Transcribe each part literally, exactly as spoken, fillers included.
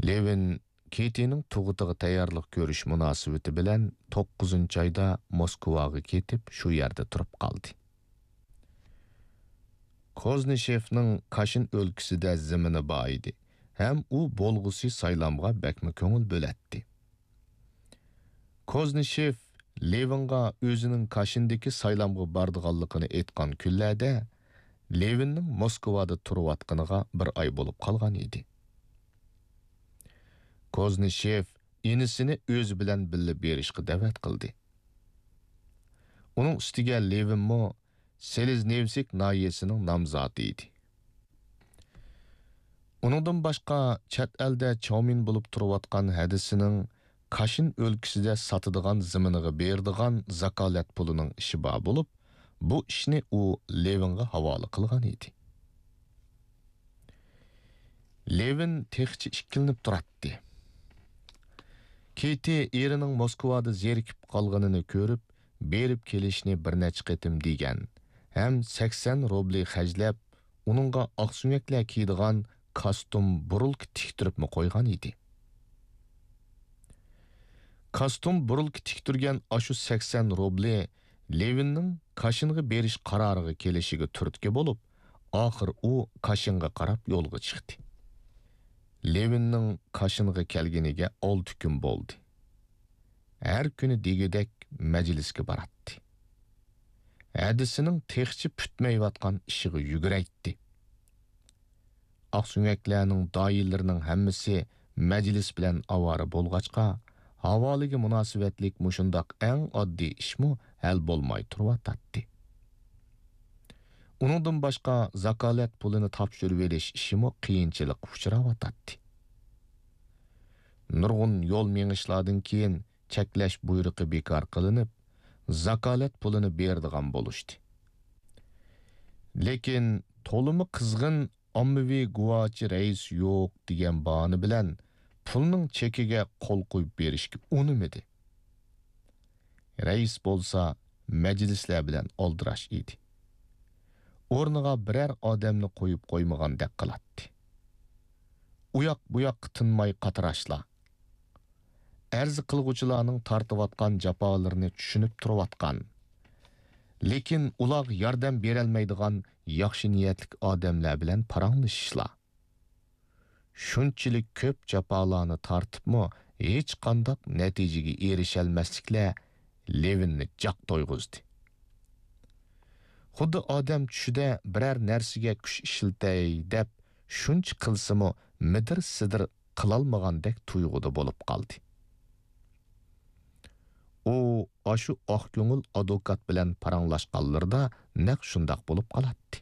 لېۋىن كېتىنىڭ تۇغۇتىغا تەييارلىق كۆرۈش مۇناسىۋىتى بىلەن توققۇزىنچى ئايدا موسكۋاغا كېتىپ، شۇ يەردە تۇرۇپ قالدى. كوزنىشېفنىڭ كاشىن ئۆلكىسىدە زېمىنى بار ئىدى ھەم ئۇ بولغۇسى سايلامغا بەكمۇ كۆڭۈل بۆلەتتى. كوزنىشېف لېۋىنغا ئۆزىنىڭ كاشىندىكى سايلامغا بارىدىغانلىقىنى ئېيتقان كۈنلەردە، لېۋىننىڭ موسكۋادا تۇرۇۋاتقىنىغا بىر ئاي بولۇپ قالغان ئىدى. كوزنىشېف ئىنىسىنى ئۆزى بىلەن بىللە بېرىشقا دەۋەت قىلدى. ئۇنىڭ ئۈستىگە لېۋىنمۇ سېلېزنېۋسك ناھىيەسىنىڭ نامزاتى ئىدى. ئۇنىڭدىن باشقا، چەت ئەلدە چاۋمىن بولۇپ تۇرۇۋاتقان ھەدىسىنىڭ كاشىن ئۆلكىسىدە ساتىدىغان زېمىنىغا بېرىدىغان زاكالەت پۇلىنىڭ ئىشى بار بولۇپ، بۇ ئىشنى ئۇ لېۋىنغا ھاۋالە قىلغان ئىدى. لېۋىن تېخىچە ئىككىلىنىپ تۇراتتى. كېتى ئېرىنىڭ موسكۋادا زېرىكىپ قالغىنىنى كۆرۈپ، بېرىپ كېلىشنى بىر نەچچە قېتىم دېگەن ھەم سەكسەن روبلى خەجلەپ، ئۇنىڭغا ئاقسۆڭەكلەر كىيىدىغان كاستۇم بۇرۇلكا تىكتۈرۈپمۇ قويغان ئىدى. كاستۇم بۇرۇلكا تىكتۈرگەن ئاشۇ سەكسەن روبلى لېۋىننىڭ كاشىنغا بېرىش قارارىغا كېلىشىگە تۈرتكە بولۇپ، ئاخىر ئۇ كاشىنغا قاراپ يولغا چىقتى. لېۋىننىڭ كاشىنغا كەلگىنىگە ئالتە كۈن بولدى. ھەر كۈنى دېگۈدەك مەجلىسكە باراتتى. ھەدىسىنىڭ تېخىچە پۈتمەيۋاتقان ئىشىغا يۈگرەيتتى. ئاقسۆڭەكلەرنىڭ داھىيلىرىنىڭ ھەممىسى مەجلىس بىلەن ئاۋارە بولغاچقا، ھاۋالىگە مۇناسىۋەتلىك مۇشۇنداق ئەڭ ئاددىي ئىشمۇ ھەل بولماي تۇرۇۋاتاتتى. ئۇنىڭدىن باشقا، زاكالەت پۇلىنى تاپشۇرۇۋېلىش ئىشىمۇ قىيىنچىلىققا ئۇچراۋاتاتتى. نۇرغۇن يول مېڭىشلاردىن كېيىن، چەكلەش بۇيرۇقى بىكار قىلىنىپ، زاكالەت پۇلىنى بېرىدىغان بولۇشتى. لېكىن تولىمۇ قىزغىن ئاممىۋى گۇۋاچى رەئىس يوق دېگەن باھانە بىلەن پۇلنىڭ چېكىگە قول قويۇپ بېرىشكە ئۇنىمىدى. رەئىس بولسا مەجلىسلەر بىلەن ئالدىراش ئىدى. ئورنىغا بىرەر ئادەمنى قويۇپ قويمىغاندەك قىلاتتى. ئۇياق بۇياققا تىنماي قاتراشلا. ئەرز قىلغۇچىلارنىڭ تارتىۋاتقان جاپالىرىنى چۈشىنىپ تۇرۇۋاتقان، لېكىن ئۇلارغا ياردەم بېرەلمەيدىغان ياخشى نىيەتلىك ئادەملەر بىلەن پاراڭلىشىشلا. شۇنچىلىك كۆپ جاپالارنى تارتىپمۇ ھېچقانداق نەتىجىگە ئېرىشەلمەسلىكلەر لېۋىننى جاق تويغۇزدى. خۇددى ئادەم چۈشىدە بىرەر نەرسىگە كۈچ ئىشلىتەي دەپ شۇنچە قىلسىمۇ مىدىر-سىدىر قىلالمىغاندەك تۇيغۇدا بولۇپ قالدى. ئۇ ئاشۇ ئاق كۆڭۈل ئادۋوكات بىلەن پاراڭلاشقانلىرىدا نەق شۇنداق بولۇپ قالاتتى.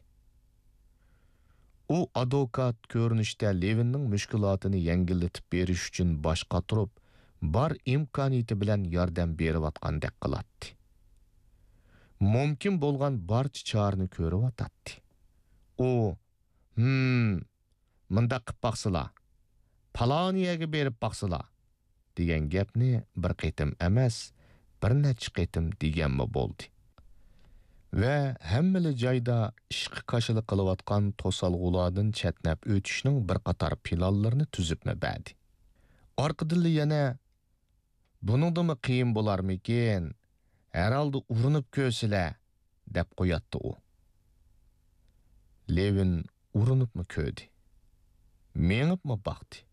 ئۇ ئادۋوكات كۆرۈنۈشتە لېۋىننىڭ مۈشكۈلاتىنى يەڭگىللىتىپ بېرىش ئۈچۈن باش قاتۇرۇپ، بار ئىمكانىيىتى بىلەن ياردەم بېرىۋاتقاندەك قىلاتتى. مۇمكىن بولغان بارچە چارىنى كۆرۈۋاتاتتى. ئۇ، ھىم، مۇنداق قىپ باقسىلا، پالانى يەرگە بېرىپ باقسىلا، دېگەن گەپنى بىر قېتىم ئەمەس، بىر نەچچە قېتىم دېگەنمۇ بولدى. ۋە ھەممىلا جايدا ئىشقا كاشىلا قىلىۋاتقان توسالغۇلاردىن چەتنەپ ئۆتۈشنىڭ بىر قاتار پىلانلىرىنى تۈزۈپمۇ بەردى. ئارقىدىنلا يەنە، بۇنىڭدىنمۇ قىيىن بولارمىكىن؟ ھەرھالدا ئۇرۇنۇپ كۆرسىلە، دەپ قوياتتى ئۇ. لېۋىن ئۇرۇنۇپمۇ كۆردى. مېڭىپمۇ باقتى.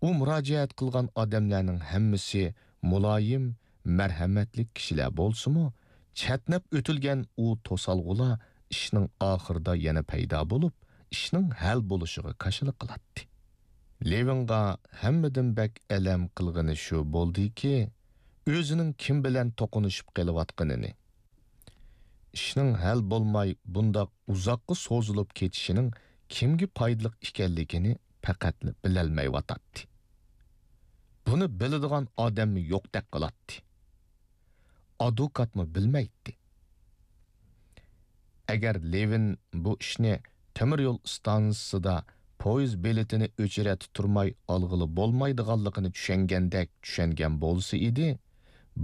ئۇ مۇراجىئەت قىلغان ئادەملەرنىڭ ھەممىسى مۇلايىم، مەرھەمەتلىك كىشىلەر بولسىمۇ، چەتنەپ ئۆتۈلگەن ئۇ توسالغۇلار ئىشنىڭ ئاخىرىدا يەنە پەيدا بولۇپ، ئىشنىڭ ھەل بولۇشىغا كاشىلا قىلاتتى. لېۋىنغا ھەممىدىن بەك ئەلەم قىلغىنى شۇ بولدىكى، ئۆزىنىڭ كىم بىلەن توقۇنۇشۇپ قېلىۋاتقىنىنى. ئىشنىڭ ھەل بولماي بۇنداق ئۇزاققا سوزۇلۇپ كېتىشىنىڭ كىمگە پايدىلىق ئىكەنلىكىنى پەقەتلا بىلەلمەيۋاتاتتى. بۇنى بىلىدىغان ئادەممۇ يوقتەك قىلاتتى. ئادۋوكاتمۇ بىلمەيتتى. ئەگەر لېۋىن بۇ ئىشنى تۆمۈر يول ئىستانسىسىدا پويىز بېلىتىنى ئۆچرەتتە تۇرماي ئالغىلى بولمايدىغانلىقىنى چۈشەنگەندەك چۈشەنگەن بولسا ئىدى،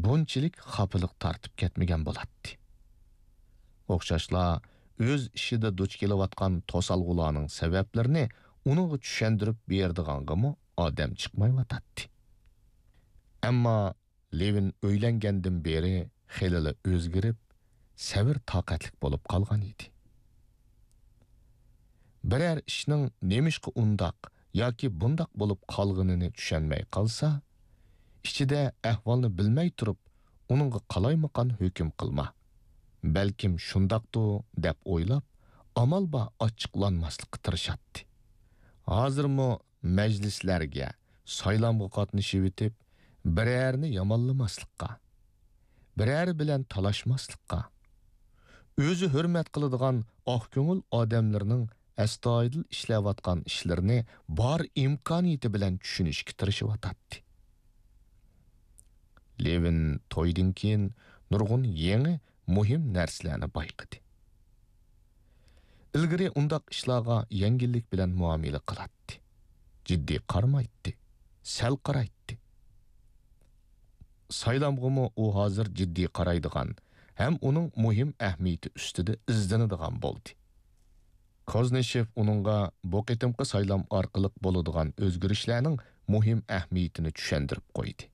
بۇنچىلىك خاپىلىق تارتىپ كەتمىگەن بولاتتى. ئوخشاشلا ئۆز ئىشىدا دۇچ كېلىۋاتقان توسالغۇلارنىڭ سەۋەبلىرىنى ئۇنىڭغا چۈشەندۈرۈپ بېرىدىغانغىمۇ ئادەم چىقمايۋاتاتتى. ئەمما لېۋىن ئۆيلەنگەندىن بېرى خېلىلا ئۆزگىرىپ، سەۋر-تاقەتلىك بولۇپ قالغان ئىدى. بىرەر ئىشنىڭ نېمىشقا ئۇنداق ياكى بۇنداق بولۇپ قالغىنىنى چۈشەنمەي قالسا، ئىچىدە ئەھۋالنى بىلمەي تۇرۇپ، ئۇنىڭغا قالايمىقان ھۆكۈم قىلما. بەلكىم شۇنداقتۇ دەپ ئويلاپ، ئامال بار ئاچچىقلانماسلىققا تىرىشاتتى. ھازىرمۇ مەجلىسلەرگە، سايلامغا قاتنىشىۋېتىپ، بىرەرنى يامانلىماسلىققا، بىرەر بىلەن تالاشماسلىققا، ئۆزى ھۆرمەت قىلىدىغان ئاق كۆڭۈل ئادەملىرىنىڭ ئەستايىدىل ئىشلەۋاتقان ئىشلىرىنى بار ئىمكانىيىتى بىلەن چۈشىنىشكە تىرىشىۋاتاتتى. لېۋىن تويدىن كېيىن نۇرغۇن يېڭى مۇھىم نەرسىلەرنى بايقىدى. ئىلگىرى ئۇنداق ئىشلارغا يەڭگىللىك بىلەن مۇئامىلە قىلاتتى. جىددىي قارىمايتتى. سەل قارايتتى. سايلامغىمۇ ئۇ ھازىر جىددىي قارايدىغان ھەم ئۇنىڭ مۇھىم ئەھمىيىتى ئۈستىدە ئىزدىنىدىغان بولدى. كوزنىشېف ئۇنىڭغا بۇ قېتىمقى سايلام ئارقىلىق بولىدىغان ئۆزگىرىشلەرنىڭ مۇھىم ئەھمىيىتىنى چۈشەندۈرۈپ قويدى.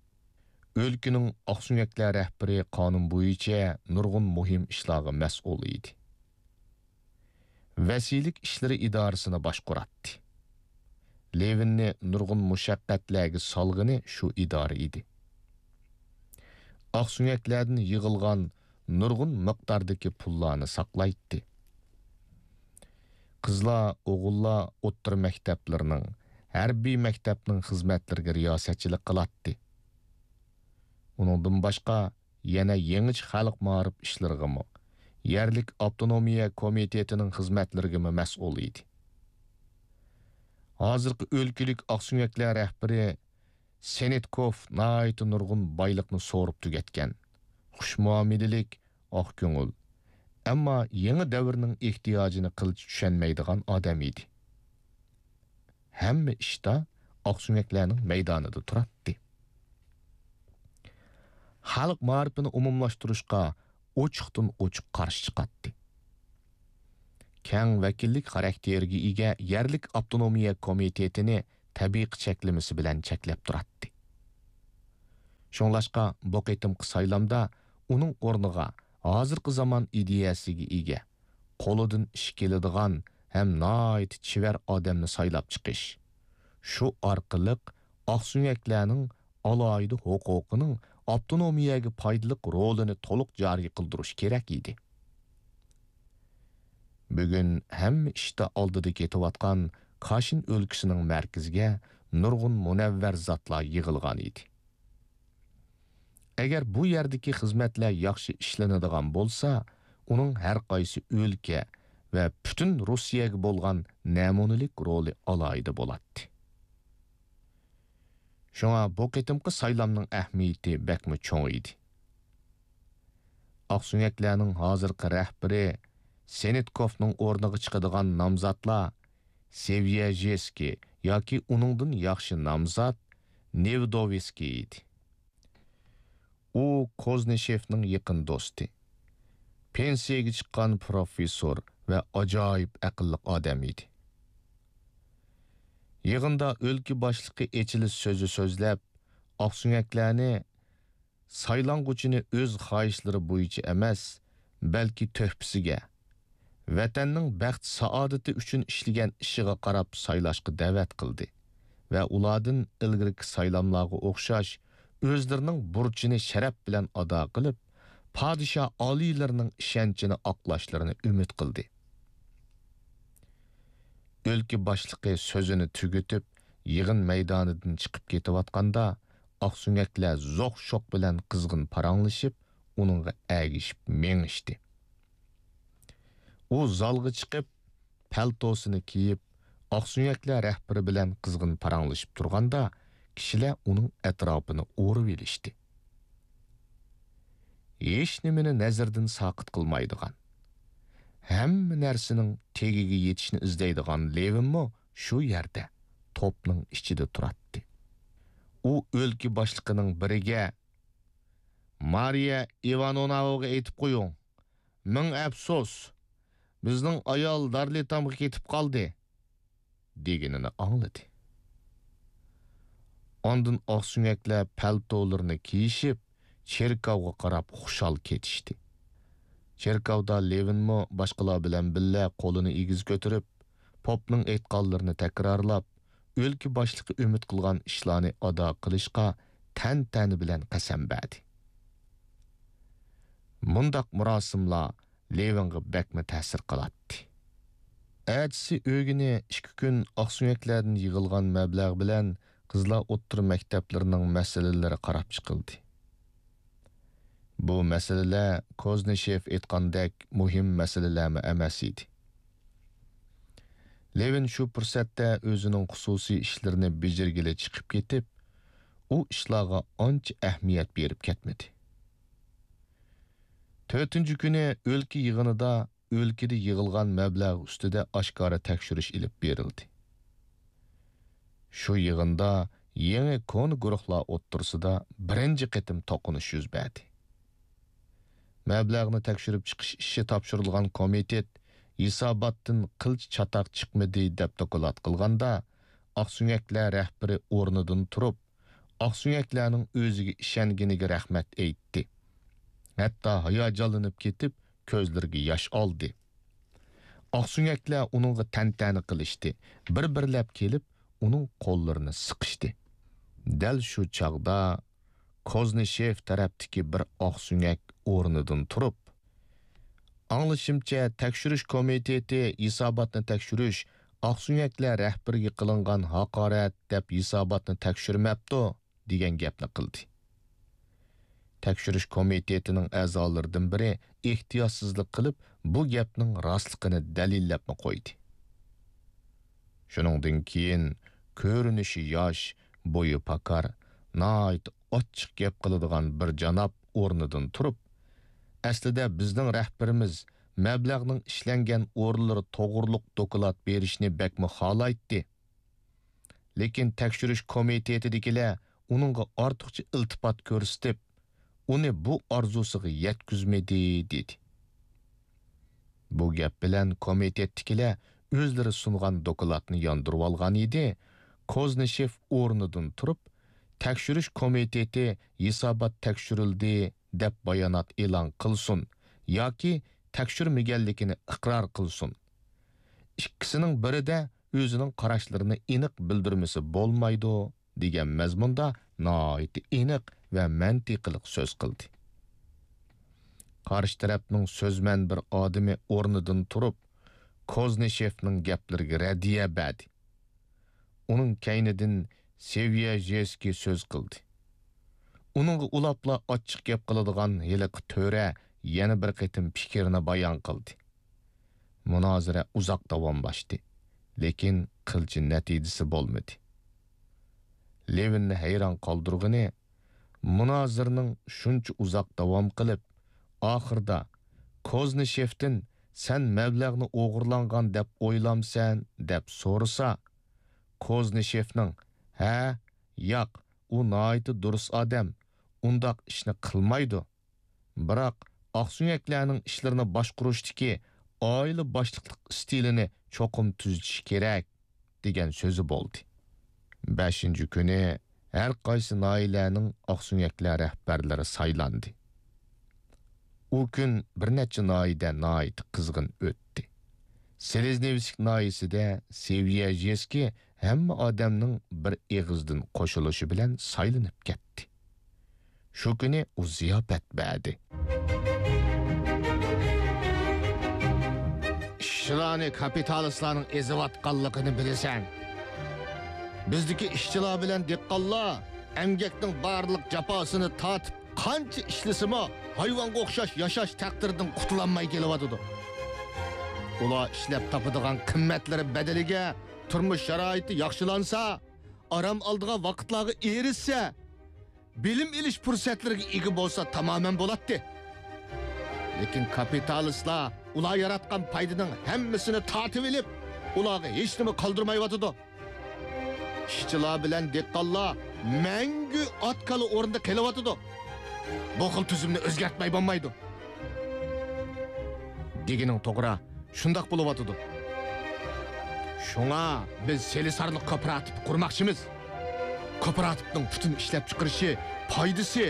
ئۆلكىنىڭ ئاقسۆڭەكلەر رەھبىرى قانۇن بويىچە نۇرغۇن مۇھىم ئىشلارغا مەسئۇل ئىدى. ۋەسىيلىك ئىشلىرى ئىدارىسىنى باشقۇراتتى. لېۋىننى نۇرغۇن مۇشەققەتلەرگە سالغىنى شۇ ئىدارە ئىدى. ئاقسۆڭەكلەردىن يىغىلغان نۇرغۇن مىقداردىكى پۇللارنى ساقلايتتى. قىزلار، ئوغۇللار ئوتتۇرا مەكتەپلىرىنىڭ، ھەربىي مەكتەپنىڭ خىزمەتلىرىگە رىياسەتچىلىك قىلاتتى. ئۇنىڭدىن باشقا، يەنە يېڭىچە خەلق مائارىپ ئىشلىرىغىمۇ، يەرلىك ئاپتونومىيە كومىتېتىنىڭ خىزمەتلىرىگىمۇ مەسئۇل ئىدى. ھازىرقى ئۆلكىلىك ئاقسۆڭەكلەر رەھبىرى سېنىتكوف ناھايىتى نۇرغۇن بايلىقنى سورۇپ تۈگەتكەن، خۇش مۇئامىلىلىك، ئاق كۆڭۈل، ئەمما يېڭى دەۋرنىڭ ئېھتىياجىنى قىلچە چۈشەنمەيدىغان ئادەم ئىدى. ھەممە ئىشتا ئاقسۆڭەكلەرنىڭ مەيدانىدا تۇراتتى. خەلق مائارىپىنى ئومۇملاشتۇرۇشقا ئوچۇقتىن ئوچۇق قارشى چىقاتتى. كەڭ ۋەكىللىك خاراكتېرىگە ئىگە يەرلىك ئاپتونومىيە كومىتېتىنى تەبىقە چەكلىمىسى بىلەن چەكلەپ تۇراتتى. شۇڭلاشقا بۇ قېتىمقى سايلامدا ئۇنىڭ ئورنىغا ھازىرقى زامان ئىدىيەسىگە ئىگە، قولىدىن ئىش كېلىدىغان ھەم ناھايىتى چېۋەر ئادەمنى سايلاپ چىقىش، شۇ ئارقىلىق ئاقسۆڭەكلەرنىڭ ئالاھىدە ھوقۇقىنىڭ ئاپتونومىيەگە پايدىلىق رولىنى تولۇق جارى قىلدۇرۇش كېرەك ئىدى. بۈگۈن ھەممە ئىشتا ئالدىدا كېتىۋاتقان كاشىن ئۆلكىسىنىڭ مەركىزىگە نۇرغۇن مۇنەۋۋەر زاتلار يىغىلغان ئىدى. ئەگەر بۇ يەردىكى خىزمەتلەر ياخشى ئىشلىنىدىغان بولسا، ئۇنىڭ ھەر قايسى ئۆلكە ۋە پۈتۈن روسىيەگە بولغان نەمۇنىلىك رولى ئالاھىدە بولاتتى. شۇڭا بۇ قېتىمقى سايلامنىڭ ئەھمىيىتى بەكمۇ چوڭ ئىدى. ئاقسۆڭەكلەرنىڭ ھازىرقى رەھبىرى سېنىتكوفنىڭ ئورنىغا چىقىدىغان نامزاتلار سېۋيەژېسكىي ياكى ئۇنىڭدىن ياخشى نامزات نېۋدوۋسكىي ئىدى. ئۇ كوزنىشېفنىڭ يېقىن دوستى، پېنسىيەگە چىققان پروفېسسور ۋە ئاجايىپ ئەقىللىق ئادەم ئىدى. يىغىندا ئۆلكە باشلىقى ئېچىلىش سۆزى سۆزلەپ، ئاقسۆڭەكلەرنى سايلانغۇچىنى ئۆز خاھىشلىرى بويىچە ئەمەس، بەلكى تۆھپىسىگە، ۋەتەننىڭ بەخت-سائادىتى ئۈچۈن ئىشلىگەن ئىشىغا قاراپ سايلاشقا دەۋەت قىلدى ۋە ئۇلاردىن ئىلگىرىكى سايلاملارغا ئوخشاش ئۆزلىرىنىڭ بۇرچىنى شەرەپ بىلەن ئادا قىلىپ، پادىشاھ ئالىيلىرىنىڭ ئىشەنچىنى ئاقلاشلىرىنى ئۈمىد قىلدى. ئۆلكە باشلىقى سۆزىنى تۈگىتىپ، يىغىن مەيدانىدىن چىقىپ كېتىۋاتقاندا، ئاقسۆڭەكلەر زوق-شوق بىلەن قىزغىن پاراڭلىشىپ، ئۇنىڭغا ئەگىشىپ مېڭىشتى. ئۇ زالغا چىقىپ، پەلتوسىنى كىيىپ، ئاقسۆڭەكلەر رەھبىرى بىلەن قىزغىن پاراڭلىشىپ تۇرغاندا، كىشىلەر ئۇنىڭ ئەتراپىنى ئورىۋېلىشتى. ھېچنېمىنى نەزىرىدىن ساقىت قىلمايدىغان، ھەممە نەرسىنىڭ تېگىگە يېتىشنى ئىزدەيدىغان لېۋىنمۇ شۇ يەردە، توپنىڭ ئىچىدە تۇراتتى. ئۇ ئۆلكە باشلىقىنىڭ بىرىگە، «مارىيە ئىۋانوۋناغا ئېيتىپ قويۇڭ، مىڭ ئەپسۇس، بىزنىڭ ئايال دارلىتامغا كېتىپ قالدى» دېگىنىنى ئاڭلىدى. ئاندىن ئاقسۆڭەكلەر پەلتولىرىنى كىيىشىپ، چېركاۋغا قاراپ خۇشال كېتىشتى. چېركاۋدا لېۋىنمۇ باشقىلار بىلەن بىللە قولىنى ئېگىز كۆتۈرۈپ، پوپنىڭ ئېيتقانلىرىنى تەكرارلاپ، ئۆلكە باشلىقى ئۈمىد قىلغان ئىشلارنى ئادا قىلىشقا تەنتەنە بىلەن قەسەم بەردى. مۇنداق مۇراسىملار لېۋىنغا بەكمۇ تەسىر قىلاتتى. ئەتىسى ئۆگىنى ئىككى كۈن ئاقسۆڭەكلەردىن يىغىلغان مەبلەغ بىلەن قىزلار ئوتتۇرا مەكتەپلىرىنىڭ مەسىلىلىرى قاراپ چىقىلدى. بۇ مەسىلىلەر كوزنىشېف ئېيتقاندەك مۇھىم مەسىلىلەرمۇ ئەمەس ئىدى. لېۋىن شۇ پۇرسەتتە ئۆزىنىڭ خۇسۇسىي ئىشلىرىنى بېجىرگىلى چىقىپ كېتىپ، ئۇ ئىشلارغا ئانچە ئەھمىيەت بېرىپ كەتمىدى. تۆتىنچى كۈنى ئۆلكە يىغىنىدا ئۆلكىدە يىغىلغان مەبلەغ ئۈستىدە ئاشكارا تەكشۈرۈش ئېلىپ بېرىلدى. شۇ يىغىندا يېڭى كونا گۇرۇھلار ئوتتۇرىسىدا بىرىنچى قېتىم توقۇنۇش يۈز بەردى. مەبلەغنى تەكشۈرۈپ چىقىش ئىشى تاپشۇرۇلغان كومىتېت ھېساباتتىن قىلچە چاتاق چىقمىدى، دەپ دوكلات قىلغاندا، ئاقسۆڭەكلەر رەھبىرى ئورنىدىن تۇرۇپ، ئاقسۆڭەكلەرنىڭ ئۆزىگە ئىشەنگىنىگە رەھمەت ئېيتتى. ھەتتا ھاياجانلىنىپ كېتىپ، كۆزلىرىگە ياش ئالدى. ئاقسۆڭەكلەر ئۇنىڭغا تەنتەنە قىلىشتى، بىر-بىرلەپ كېلىپ، ئۇنىڭ قوللىرىنى سىقىشتى. دەل شۇ چاغدا كوزنىشېف تەرەپتىكى بىر ئاقسۆڭەك ئورنىدىن تۇرۇپ، «ئاڭلىشىمچە، تەكشۈرۈش كومىتېتى ھېساباتنى تەكشۈرۈش ئاقسۆڭەكلەر رەھبىرىگە قىلىنغان ھاقارەت دەپ ھېساباتنى تەكشۈرمەپتۇ» دېگەن گەپنى قىلدى. تەكشۈرۈش كومىتېتىنىڭ ئەزالىرىدىن بىرى ئېھتىياتسىزلىق قىلىپ، بۇ گەپنىڭ راستلىقىنى دەلىللەپمۇ قويدى. شۇنىڭدىن كېيىن كۆرۈنۈشى ياش، بويى پاكار، ناھايىتى ئاچچىق گەپ قىلىدىغان بىر جاناب ئورنىدىن تۇرۇپ، «ئەسلىدە بىزنىڭ رەھبىرىمىز مەبلەغنىڭ ئىشلەنگەن ئورۇنلىرى توغرۇلۇق دوكلات بېرىشنى بەكمۇ خالايتتى. لېكىن تەكشۈرۈش كومىتېتىدىكىلەر ئۇنىڭغا ئارتۇقچە ئىلتىپات كۆرسىتىپ، ئۇنى بۇ ئارزۇسىغا يەتكۈزمىدى» دېدى. بۇ گەپ بىلەن كومىتېتتىكىلەر ئۆزلىرى سۇنغان دوكلاتنى ياندۇرۇۋالغان ئىدى. كوزنىشېف ئورنىدىن تۇرۇپ، «تەكشۈرۈش كومىتېتى ھېسابات تەكشۈرۈلدى دەپ بايانات ئېلان قىلسۇن ياكى تەكشۈرمىگەنلىكىنى ئىقرار قىلسۇن. ئىككىسىنىڭ بىرىدە ئۆزىنىڭ قاراشلىرىنى ئېنىق بىلدۈرمىسە بولمايدۇ» دېگەن مەزمۇندا ناھايىتى ئېنىق ۋە مەنتىقىلىق سۆز قىلدى. قارشى تەرەپنىڭ سۆزمەن بىر ئادىمى ئورنىدىن تۇرۇپ، كوزنىشېفنىڭ گەپلىرىگە رەددىيە بەردى. ئۇنىڭ كەينىدىن سېۋيەژېسكىي سۆز قىلدى. ئۇنىڭغا ئۇلاپلا ئاچچىق گەپ قىلىدىغان ھېلىقى تۆرە يەنە بىر قېتىم پىكرىنى بايان قىلدى. مۇنازىرە ئۇزاق داۋاملاشتى، لېكىن قىلچە نەتىجىسى بولمىدى. لېۋىننى ھەيران قالدۇرغىنى، مۇنازىرىنىڭ شۇنچە ئۇزاق داۋام قىلىپ، ئاخىرىدا كوزنىشېفتىن «سەن مەبلەغنى ئوغرىلانغان دەپ ئويلامسەن؟» دەپ سورىسا، كوزنىشېفنىڭ «ھە، ياق، ئۇ ناھايىتى دۇرۇس ئادەم، ئۇنداق ئىشنى قىلمايدۇ. بىراق، ئاقسۆڭەكلەرنىڭ ئىشلىرىنى باشقۇرۇشتىكى ئائىلە باشلىقلىق ئىستىلىنى چوقۇم تۈزىتىش كېرەك» دېگەن سۆزى بولدى. بەشىنچى كۈنى ھەر قايسى ناھىيەلەرنىڭ ئاقسۆڭەكلەر رەھبەرلىرى سايلاندى. ئۇ كۈن بىر نەچچە ناھىيەدە ناھايىتى قىزغىن ئۆتتى. سېلېزنېۋسك ناھىيەسىدە سېۋيەژېسكىي ھەممە ئادەمنىڭ بىر ئېغىزدىن قوشۇلۇشى بىلەن سايلىنىپ كەتتى. شۇ كۈنى ئۇ زىياپەت بەردى. ئىشچىلارنى كاپىتالىستلارنىڭ ئېزىۋاتقانلىقىنى بىلىسەن. بىزدىكى ئىشچىلار بىلەن دېھقانلار ئەمگەكنىڭ بارلىق جاپاسىنى تارتىپ، قانچە ئىشلىسىمۇ، ھايۋانغا ئوخشاش ياشاش تەقدىرىدىن قۇتۇلالماي كېلىۋاتىدۇ. ئۇلار ئىشلەپ تاپىدىغان قىممەتلىرى بەدىلىگە تۇرمۇش شارائىتى ياخشىلانسا، ئارام ئالىدىغان ۋاقىتلارغا ئېرىشسە، بىلىم ئېلىش پۇرسەتلىرىگە ئىگە بولسا تامامەن بولاتتى. لېكىن كاپىتالىستلار ئۇلار ياراتقان پايدىنىڭ ھەممىسىنى تارتىۋېلىپ، ئۇلارغا ھېچنېمە قالدۇرمايۋاتىدۇ. ئىشچىلار بىلەن دېھقانلار مەڭگۈ ئات-كالا ئورنىدا قېلىۋاتىدۇ. بۇ خىل تۈزۈمنى ئۆزگەرتمەي بولمايدۇ. دېگىنىڭ توغرا، شۇنداق بولۇۋاتىدۇ. شۇڭا بىز سېلىسارلىق كوپىراتىپى قۇرماقچىمىز. كوپىراتىپنىڭ پۈتۈن ئىشلەپچىقىرىشى، پايدىسى،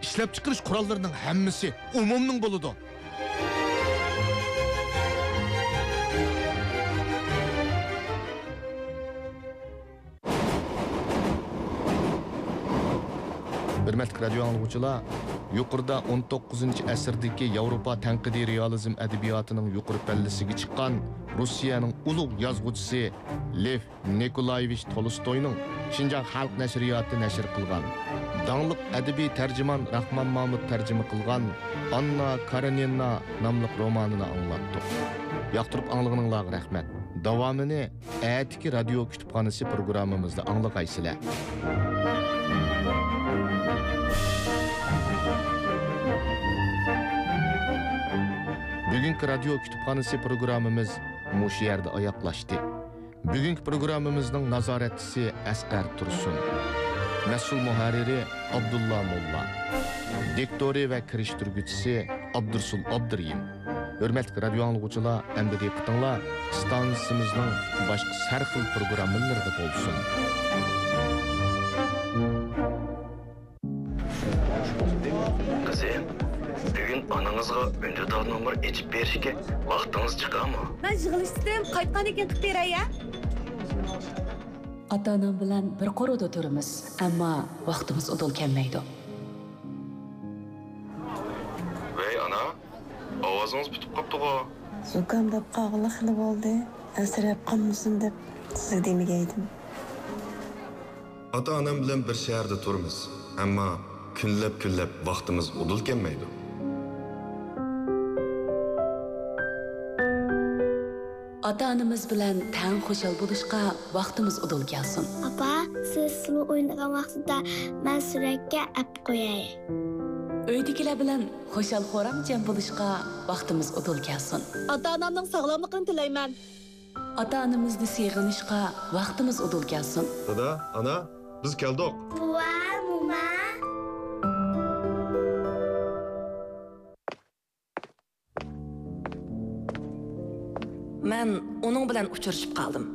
ئىشلەپچىقىرىش قوراللىرىنىڭ ھەممىسى ئومۇمنىڭ بولىدۇ. ھۆرمەتلىك رادىيو ئاڭلىغۇچىلار، يۇقىرىدا ئون توققۇزىنچى ئەسىردىكى ياۋروپا تەنقىدىي رېئالىزم ئەدەبىياتىنىڭ يۇقىرى پەللىسىگە چىققان روسىيەنىڭ ئۇلۇغ يازغۇچىسى لېف نىكولايېۋىچ تولستوينىڭ شىنجاڭ خەلق نەشرىياتى نەشر قىلغان، داڭلىق ئەدەبىي تەرجىمان راخمان مامۇت تەرجىمە قىلغان ئاننا كارېنىنا ناملىق رومانىنى ئاڭلاتتۇق. ياقتۇرۇپ ئاڭلىغىنىڭلارغا رەھمەت. داۋامىنى ئەتىكى رادىيو كۇتۇپخانىسى پروگراممىمىزدا ئاڭلىغايسىلەر. بۈگۈنكى رادىيو كۇتۇپخانىسى پروگراممىمىز مۇشۇ يەردە ئاياغلاشتى. بۈگۈنكى پروگراممىمىزنىڭ نازارەتچىسى ئەسقەر تۇرسۇن، مەسئۇل مۇھەررىرى ئابدۇللا موللا، دىكتورى ۋە كىرىشتۈرگۈچىسى ئابدۇرۇسۇل ئابدۇرېھىم. ھۆرمەتلىك رادىيو ئاڭلىغۇچىلار، ئەمدى دىققىتىڭلار ئىستانسىمىزنىڭ باشقا ھەر خىل پروگراممىلىرىدا بولسۇن. قىزىم، بۈگۈن ئانىڭىزغا ئۈندىدار نومۇر ئېچىپ بېرىشكە ۋاقتىڭىز چىقارمۇ؟ مەن يىغىلىشتىم، قايتقاندىن كېيىن قىلىپ بېرەي، ھە؟ ئاتا-ئانام بىلەن بىر قورۇدا تۇرىمىز، ئەمما ۋاقتىمىز ئۇدۇل كەلمەيدۇ. ۋەي، ئانا، ئاۋازىڭىز پۈتۈپ قاپتىغۇ؟ زۇكام بولۇپ قالغىلى خېلى بولدى. ئەنسىرەپ قالمىسۇن دەپ سىزگە دېمىگەيدىم. ئاتا-ئانام بىلەن بىر شەھەردە تۇرىمىز، ئەمما كۈنلەپ-كۈنلەپ ۋاقتىمىز ئۇدۇل كەلمەيدۇ. ئاتا-ئانىمىز بىلەن تەڭ خۇشال بولۇشقا ۋاقتىمىز ئۇدۇل كەلسۇن. ئاپا، سىز سۇلۇ ئوينىغان ۋاقتىدا مەن سۈرەتكە ئەپ قوياي. ئۆيدىكىلەر بىلەن خۇشال-خۇرام جەم بولۇشقا ۋاقتىمىز ئۇدۇل كەلسۇن. ئاتا-ئانامنىڭ ساغلاملىقىنى تىلەيمەن. ئاتا-ئانىمىزنى سېغىنىشقا ۋاقتىمىز ئۇدۇل كەلسۇن. دادا، ئانا، بىز كەلدۇق. بوۋا، موما. مەن ئۇنىڭ بىلەن ئۇچرىشىپ قالدىم.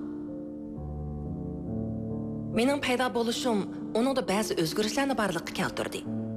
مېنىڭ پەيدا بولۇشۇم ئۇنىڭدا بەزى ئۆزگىرىشلەرنى بارلىققا كەلتۈردى.